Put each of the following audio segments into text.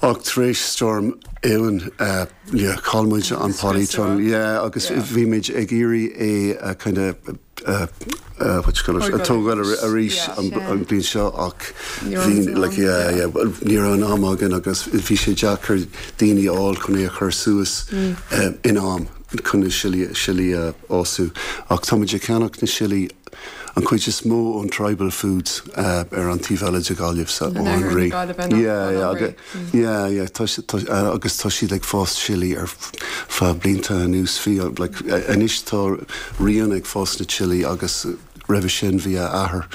Ach tar éis Storm Éowyn, yeah, chaill muid an polytunnel, yeah, agus bhí muid ag iarraidh é a kind of, what you call it, a tógáil arís an bhliain seo ach bhí, like, yeah, yeah, ní raibh an am againn agus bhí sé deacair daoine a fháil chun é a chur suas in am chun na sillí a fhású. Ach tá muid ag ceannach na sillí an chuid is mó ón Tribal Foods ar an taobh eile de Ghaillimh, so ó an Rí. Yeah, yeah, yeah, yeah, tá agus tá siad ag fás sillí ar feadh blianta anuas. Bhí, like, anois tá Ríona ag fás na sillí agus roimhe sin bhí a athair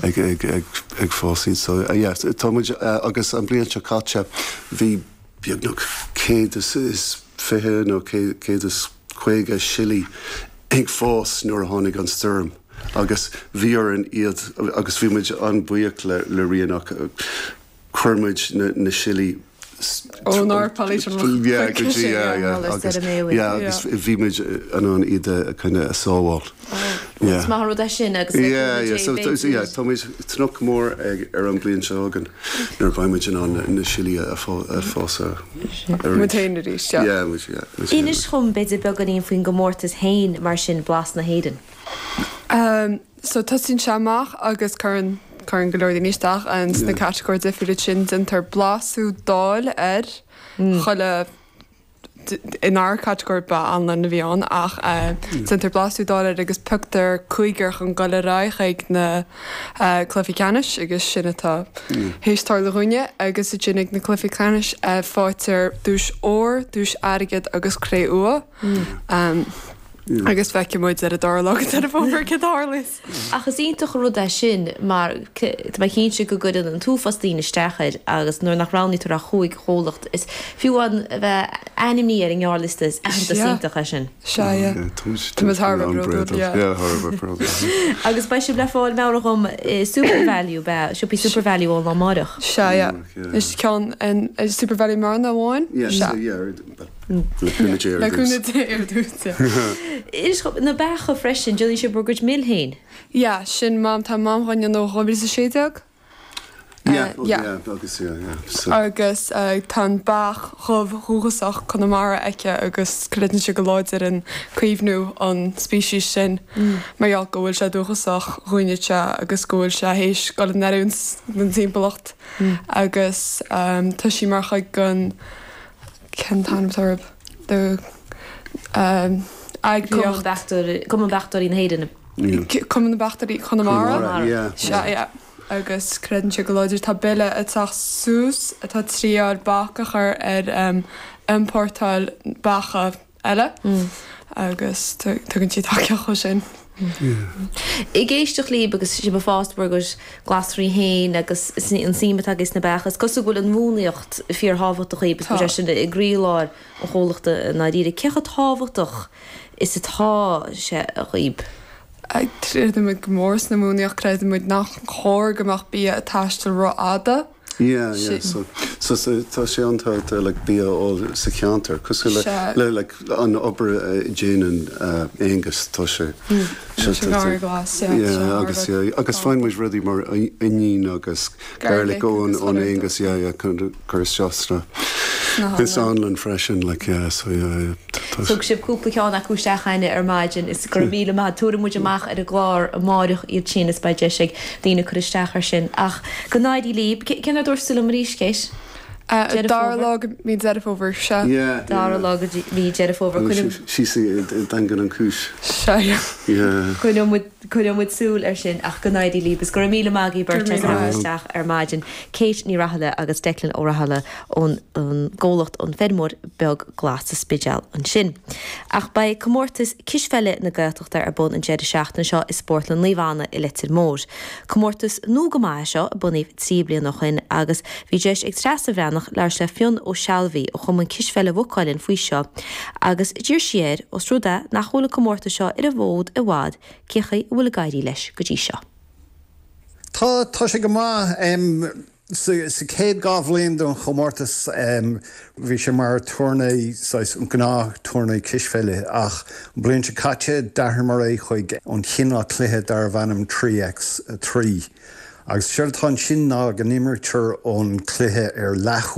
ag, ag, ag, ag fás iad. So, yeah, tá muid, agus an bliain seo caite bhí beagnach 120 nó 150 sillí ag fás nuair a tháinig an stoirm agus bhí orainn iad agus bhí muid an-bhuíoch le le Ríona ach chuir muid na na sillí Ónár polytunnel yeah go dtí yeah yeah agus yeah agus bhí muid in ann iad a kind of a sábháil. Yeah. Is maith an rud é sin agus Yeah yeah so yeah tá muid ag tnúth go mór ag ar an bliain seo chugainn nuair a bheidh muid in ann na sillí a fás arís. Muid féin arís, yeah. Yeah muid yeah muid féin. Inis dhom b'fhéidir beagáinín faoin gcomórtas féin mar sin, Blas na hÉireann. So tosaíonn sé amach agus cuireann cuireann go leor daoine isteach sna catagóirí difriúla sin déantar blasú dóil ar chuile Inár catagóir ba anlann a bhí ann ach déantar blasú dóil air agus pioctar cúigear chun dul ar aghaidh chuig na cluichí ceannais agus sin atá théis tarlú dhúinne agus ansin ag na cluichí ceannais faightear duais óir, duais airgid agus cré-umha. Agus feicfidh muid ar an dara lá de Dheireadh Fómhair céard a tharlaíos. Ach is iontach an rud é sin mar tá mé cinnte go gcuireann an t-uafás daoine isteach air agus nuair nach roghnaítear ach chúig chomhlacht is fiú amháin a bheith ainmnithe ar an ngearrliosta is aitheantas iontach é sin. Sea, yeah. Tá muid thar a bheith bródúil, yeah. Yeah, thar a bheith bródúil. Agus beidh sibh le fáil meabhraigh dhom i SuperValu, beidh siopaí SuperValu ón lá amáireach. Sea, yeah. Is ceann in SuperValu i mBearna amháin? Yeah, yeah. Le cúnamh Dé ar dtús. Le cúnamh Dé ar dtús, yeah. Inis dhom, na beacha freisin, déanann sibh bhur gcuid mil féin? Yeah, sin mam, tá mam dhá ndéanamh ó 2016. Yeah, oh yeah, agus yeah, yeah, so. Agus tá an beach dhubh dhúchasach Conamara aici agus creideann sí go láidir in caomhnú an speicis sin mar gheall go bhfuil sé dúchasach dhúinne agus go bhfuil sé théis dul in oiriúint don timpeallacht agus tá sí mar chuid den Cén t-ainm atá orthu? The eagraíocht. Cumann Beachtóirí na hÉireann. Cumann na Beachtóirí Chonamara. Chonamara, yeah. Sea, yeah. Agus creideann sé go láidir. Tá bille ag teacht suas atá ag triáil bac a chur ar iompórtáil beacha eile agus tugann sí tacaíocht dó sin. Ag éisteacht libh agus sibh ag fás bhur gcuid glasraí féin agus an suim atá agaibh sna beacha, is cosúil go bhfuil an mhúnlaíocht fíorthábhachtach dhaoibh agus go bhfuil sé sin i gcroílár an chomhlachta i ndáiríre. Cé chomh tábhachtach is atá sé dhaoibh? Creideann muid go mór sna múnlaíocht, creideann muid nach chóir go mbeadh bia ag taisteal rófhada. Yeah, yeah, so, so, so tá sé an-tábhachtach like bia a fháil sa cheantar, cosúil le, le like an obair a déanann Aonghus, tá sé, Tá sé thar glas, yeah, yeah, agus yeah, agus faigheann muid rudaí mar oinnín agus garlic ón, ón Aonghus, yeah, yeah, chun cur isteach sna, sa anlann freisin, like yeah, so yeah, yeah, tá sé. Thug sibh cúpla ceann acu isteach againne ar maidin is go raibh míle maith, tabharfaidh muid amach ar an gclár amáireach iad sin is beidh deis ag daoine cur isteach air sin. Ach go n-éirí libh. Cén uair a dúirt tú liom arís, Kate? Deireadh Dara Fómhair? lá de mí Deireadh Fómhair, sea. Yeah, Dara yeah. lá de mí Deireadh Fómhair. Coinneoidh. Síos i nDaingean Uí Chúis. Sea, yeah. Yeah. Coinneoidh muid, coinneoidh muid súil air sin ach go n-éirí libh is go raibh míle maith agaibh Go raibh beirt as míle teacht maith. isteach ar maidin. Kate Ní Rathaille agus Declan Ó Rathaille ón gcomhlacht An Feirmeoir Beag Glas sa Spidéal ansin. Ach beidh comórtas cispheile na Gaeltachta ar bun an deireadh seachtaine seo i Spórtlann Naomh Anna i Leitir Móir. Comórtas nua go maith é seo, a bunaíodh 3 bliana ó shoin agus bhí deis ag Treasa Bhreathnach labhairt le Fionn Ó Sealbhaí ó Chumann Cispheile Mhaigh Cuilinn faoi seo agus d'iarr sí air, os rud é nach bhfuil an comórtas seo ar an bhfód i bhfad, cén chaoi a bhfuil ag éirí leis go dtí seo. Tá, tá sé go maith. Sa chéad 2 bhliain den chomórtas bhí sé mar tourney, saghas gnáth tourney cispheile ach an bhliain seo caite d'athraíomar é chuig an chineál cluiche darbh ainm 3x3 agus séard atá ansin ná go n-imrítear an cluiche ar leathuair.